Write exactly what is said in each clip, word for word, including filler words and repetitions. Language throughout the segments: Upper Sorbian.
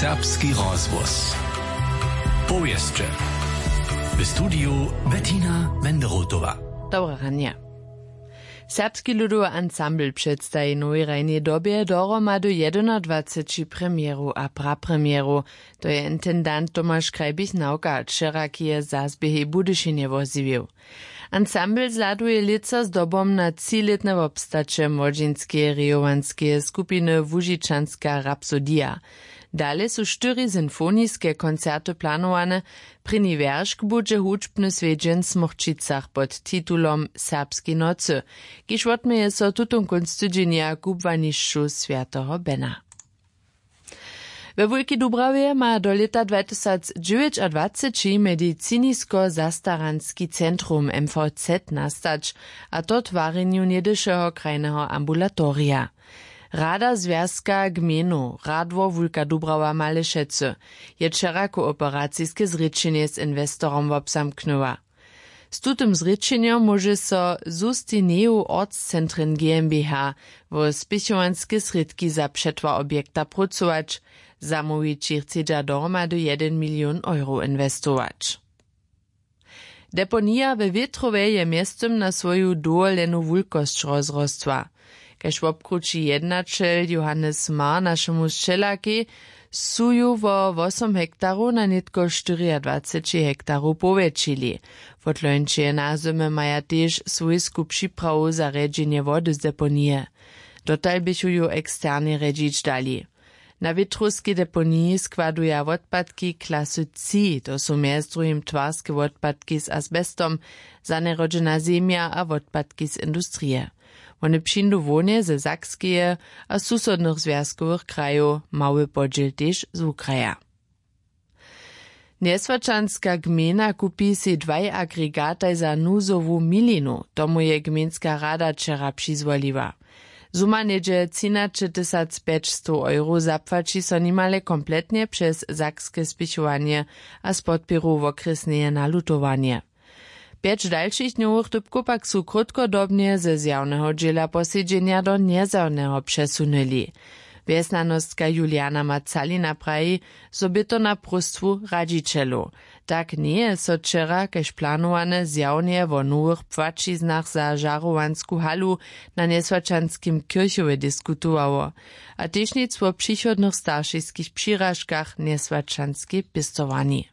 Serbski rozhłos. Powěsće. W studiju Bettina Wenderotowa. Dobre ranje. Serbski ludowy ansambl předstaji w nowej hrajnej dobje dohromady jedynadwaceći premjerow a prapremjerow. To je intendant Tomaš Krajbich-Nawka wčera k jeje zazběhej w Budyšinje wozjewił. Ansambl zhladuje lětsa zdobom na třilětne wobstaće młodźinskeje rejowanskeje skupiny Łužičanska rapsodija. Dale su štyri sinfoniske koncerty planowane. Prěni wjeršk budźe hudźbny swjedźeń w Smórčicach pod titulom Serbskej nocy, kiž wotměje so tutón kónc tydźenja w kubłanišću swjateho Bena. We Wulkej Dubrawje ma do lěta dwatysacdźewjećadwaceći medicinisko-zastaranski centrum M V Z nastać, a to w twarjenju něhdyšeho krajneho ambulatorija. Rada Zwjazka gmejnow Radwor Wulka Dubrawa Malešecy je wčera kooperaciske zrěčenje z inwestorom wobzamknyła. Z tutym zrěčenjom móže so Sustineju Ortscentren GmbH wo spěchowanske srědki za přetwar objekta prócować. Zamołwići chcedźa dohromady jedyn milion euro inwestować. Deponija we Wětrowje je mjeztym na swoju dowolenu wulkosć rozrostła. Kaž wobkrući jednaćel Johannes Marr našemu sćelakej, su ju wo wosom hektarow na nětko štyriadwaceći hektarow powjetšili. Wotlońće nazdymy maja tež swójsku připrawu za rjedźenje wody z deponije. Dotal běchu ju eksternje rjedźić dali. Na wětrowskej deponiji składuja wotpadki klasy tři, to su mjez druhim twarske wotpadki z asbestom, zanjerodźena zemja a wotpadki z industrije. Wone přińdu hłownje ze Sakskeje a susodnych zwjazkowych krajow, mały podźěl tež z wukraja. Njeswaćanska gmejna kupi sej dwaj agregataj za nuzowu milinu, tomu je gmejnska rada wčera přizwoliła. Suma něhdźe třinaćetysacpjećstow euro zapłaći so nimale kompletnje přez sakske spěchowanje a z podpěru wokrjesneje nalutowanje. Pjeć dalšich dnjowych dypkow pak su krótkodobnje ze zjawneho dźěla posedźenja do njezjawneho přesunyli. Wjesnjanostka Juliana Macalina praji, zo bě to na próstwu radźićelow. Tak njeje so wčera kaž planowane zjawnje wo nowych płaćiznach za žarowansku halu na njeswaćanskim kěrchowje diskutowało, a tež nic wo přichodnych staršiskich přiražkach njeswaćanskej pěstowarni.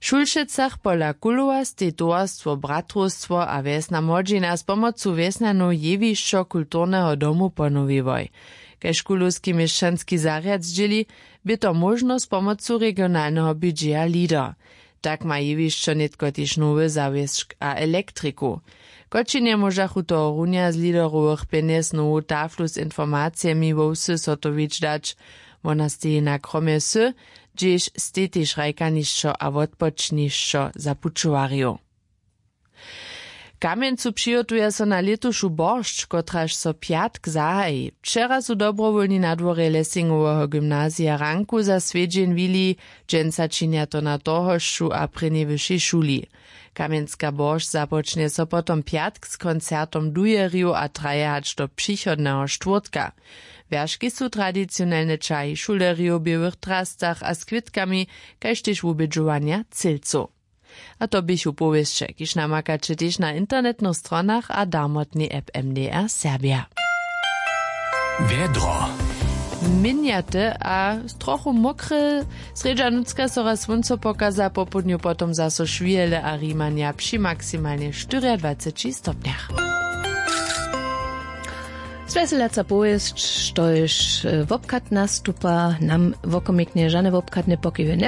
W Šulšecach pola Kulowa stej towarstwo Bratrowstwo a wjesna młodźina z pomocu wjesnjanow jewišćo kulturneho domu ponowiłoj. Kaž kulowski měšćanski zarjad zdźěli, bě to móžno z pomocu regionalneho budźeja LEADER. Tak ma jewišćo nětko tež nowy zawěsć a elektriku. Kočinje móžachu tohorunja z LEADERowych pjenjez nowu taflu z informacijemi wo wsy zhotowić dać. Wona steji na kromje wsy, hdźež stej tež hrajkanišćo a wotpočnišćo za pućowarjow. W Kamjencu přihotuja so na lětušu boršć, kotraž so pjatk zahaji. Wčera su dobrowólni na dworje Lessingoweho gymnazija ranku za swjedźeń wili. Dźensa činja to na torhošću a prěnjej wyšej šuli. Kamjenska boršć započnje so potom pjatk z koncertom dujerjow a traje hač do přichodneho štwórtka. Wjerški su tradicionelne ćahi šulerjow w běłych drastach a z kwětkami, kaž tež wubědźowanja cylcow. A to běchu powěsće, kiž namakaće tež na internetnych stronach a darmotnej app M D R Serbja. Wjedro. Měnjate a trochu mokre, srjedźa nutřka so raz słónco pokaza, popołdnju potom zaso šwihele a rimanja při maksimalnje štyriadwaceći stopnjach. Zwjeselaca powěsć, štož, e, wobchad nastupa, nam wokomiknje žane wobchadne pokiwy nje